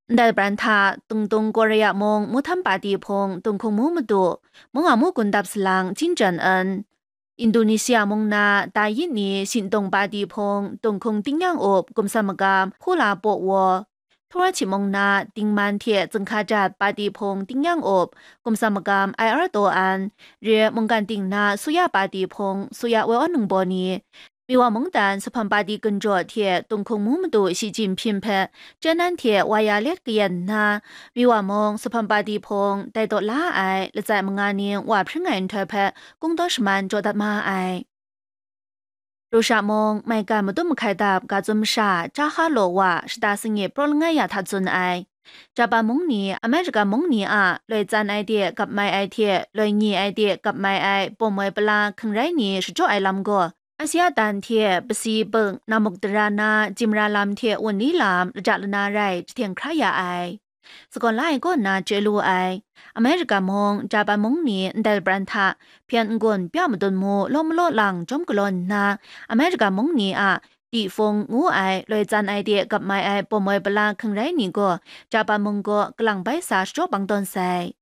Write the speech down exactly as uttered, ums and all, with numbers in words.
Ndai pran hta Tungtung Korea mung Muhtham Pati hpung Tunghkung Mu Madu, mung a mu gun dap salang Jin Jan En, Indonesia mung na Dayit ni Shintung Pati hpung Tunghkung Tingnyang Up Gumsam Magam Hkula Paw Waw, Thawra Chit mung na Dingman hte Zunghka Jat Pati hpung Tingnyang Up Gumsam Magam Ai Ar Taw An, re mungkan ting na Suya Pati hpung Suya Woi Awn Nung Baw ni, Miwa mungdan Supham Pati Gunjaw hte Tunghkung Mu Madu Shi Jinpying hpe Chyenan hte wa ya let kayan nna, Miwa mung Supham Pati hpung dai taw la ai latsai manga ning wa hpring ai nhtoi hpe kungdaw shaman jaw dat ma ai. Rusha mung maigan madum mahkai dap ga tsun masha Jaha Law wa shata sangit praw langai ya hta tsun ai. Japan mung ni Amerika mung ni a loi tsan ai de gap mai ai hte loi nye ai de gap mai ai bawm woi pala hkring rai ni shachyaw ai lam gaw, Asia dan hte pasi bek namuk dara na jimra lam hte wunli lam laja lana rai jahten hkra ya ai. Sagawn la ai kaw nna chye lu ai. Amerika mung, Japan mung ni ndai pran hta hpyen n-gun pya madun mu law malaw lang jawm galaw nna, Amerika mung ni a Tifung ngu ai loi tsan ai de gap mai ai bawm woi pala hkring rai ni gaw Japan mung gaw kalang bai sa shachyaw bang tawn sai.